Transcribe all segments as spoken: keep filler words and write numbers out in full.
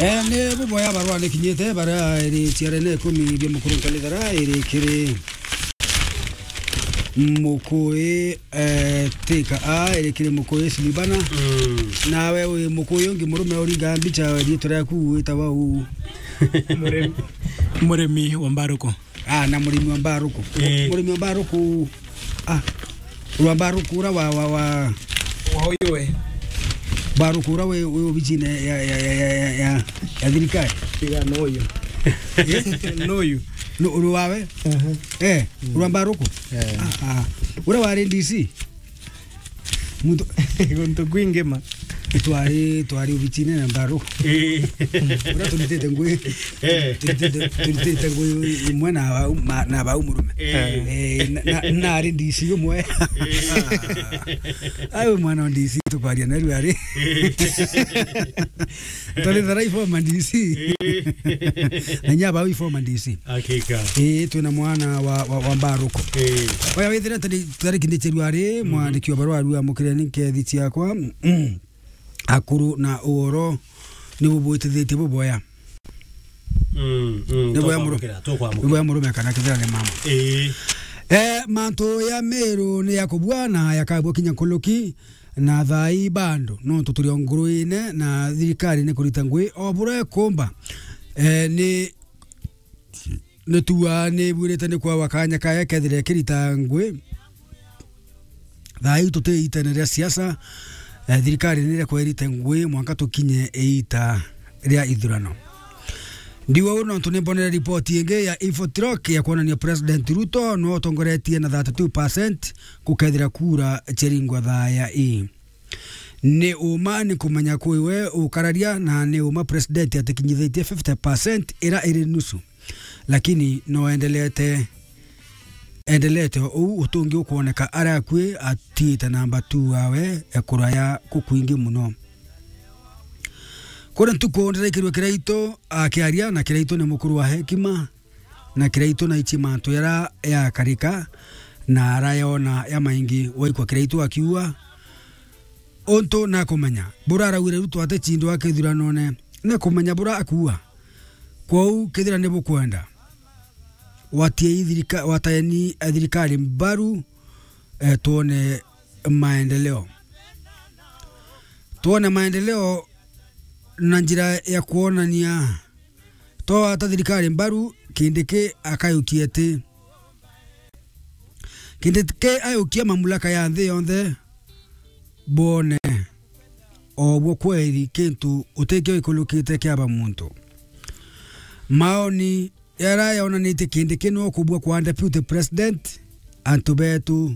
Eh, ni buboya barua ni kinyite, baria iri ciarene ikumi bia mukuru nkalithara, iri kiri Mukui, eh, Tika A, iri kiri Mukui Silibana. Mm. Nawe wi Mukui ungi murume uringa mbicha, riitwa riaku witawa u? Murimi. Murimi wa Mbaruku. Ah, na murimi wa Mbaruku. Eh. Murimi wa Mbaruku. Ah. Ura Mbaruku ura wa, wa, wa. Wa uyu we. Mbaruku ura we, we obicine ya, ya, ya, ya, ya, ya, ya thirikari. Tiga no uyu. Eh? No uyu. No, ura wawe? Aha. Eh, ura Mbaruku? Eh. Ah, ah. Ura wari D C? Muntu guntu kwingi ma. Twari, twari obicine na Mbaruku. Eh. Ura turitite ngui. Eh. Turitite, turitite ngui imwe na bau, ma-, na bau murume. Eh. Eh, na, na, na ari D C umwe. Eh. Ayo mwana wa D C tukwaria na riu ari. Tari tharai former D C. Eh. Na nya bau former D C. Hakika. Eh, twina mwana wa, wa, wa Mbaruku. Eh. Oya withire tari, tari kindichirua ari, mm, mwandiki wa barua aru amukire ni nkethi ciakwa. Mm. Akuru na uoro ni bubwitithitie buboya. Mm, mm, ni boya muru-, tukwamukira, tukwamukira. Ni boya murume kana kithira ni mama. Ii. Eh, mantu ya Meru ni ya kubua na yakabua kinya nkuluki na thaa ii bando, nontu turi o nguruine na thirikari ni kurita ngui o buria ikumba. Eh, ni Ni tuaa ni bwirite ni kwawa kanya kaya kethire kirita ngui. Thaa ii tuti itene ria siasa, eh, thirikari ni irekwa irite ngui mwanka tukinye iita ria ithurano. Ndiuga uu nontu ni mbonere ripoti ingi ya Infotrock ya kwonania President Ruto no utongoretie na thirty-two percent gukethira kura ciaringwa thaa ya ii. Ni uma ni kumenya kwi we ukararia, na ni uma president atikinyithitie fifty percent ira iri nusu, lakini no endelete, endelete uu utungi ukwoneka ari akui atiite namba two wawe, e kuraya kukwingi muno. Kuri ntuku ndiraikirwe Kiraitu akiaria, na Kiraitu ni mukuru wa hekima, na Kiraitu naichi mantu yara yakarika na arayona ya maingi. Waikwa Kiraitu akiuga, untu nakumenya buraraugire Ruto atechindwa kithuranone, nakumenya bura akuuga. Kwou kethira ni bukwenda, watiei thirika-, wataeni thirikari mbaru, eh, twone maendeleo. Twone maendeleo na njira ya kwonania. Twawata thirikari mbaru, Kindiki akayukia ati, Kindiki ayukia mamlaka ya nthi yonthe, bone o bwo kweri kintu utikio ikulukite kiaba muntu. Maoni yara yonanitie Kindiki no kubua kwa deputy president, antu betu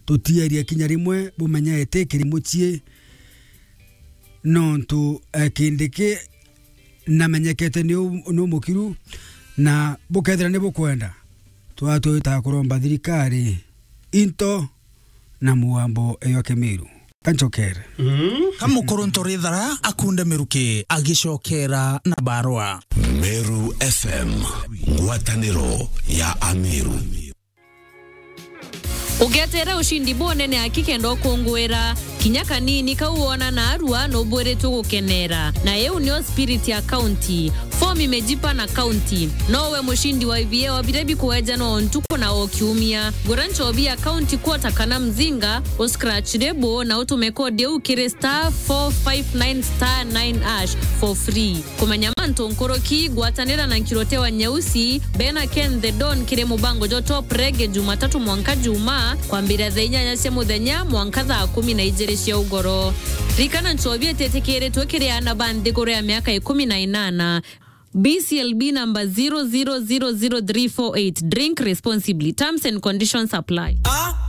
tutieria kinya rimwe bumenye eti kiri mucii, nontu, eh, Kindiki namenyekete ni u-, ni umukiru, na bukethira ni bukwenda, twatwita kuromba thirikari into na mugambo eyo Kimiru. Kanchokere. Mm. Ka mukuru Ntorithara akunde miruki agicokera na barua. Meru F M, ngwataniro ya Ameru. Ugetere ushindi bunene aki kenda ukunguira. Kinya kanini kau wona narua nubwiritwe gukenera. Na iu nio spirit ya county. Form imejipa na county. Nowe mushindi wa ibieo biria bikuejanwa o ntuku na o kiumia. Gura nchobi ya county quarter kana mzinga, u scratch label na utume code iu kiri star four five nine star nine hash for free. Kumenya mantu nkuruki, gwatanira na Nkirote wa Nyeusi, bena Ken the Don kiri mubango jwa Top Reggae Jumatatu mwanka Jumaa, kwambiria thaa inyanya cia muthenya mwanka thaa kumi na ijiri cia ugoro. Ririkana, nchobi ititikiritwe kiri aana ba nthiguru ya miaka ikumi na inana. B C L B number zero zero zero zero three four eight. Drink responsibly. Terms and conditions apply. Ah,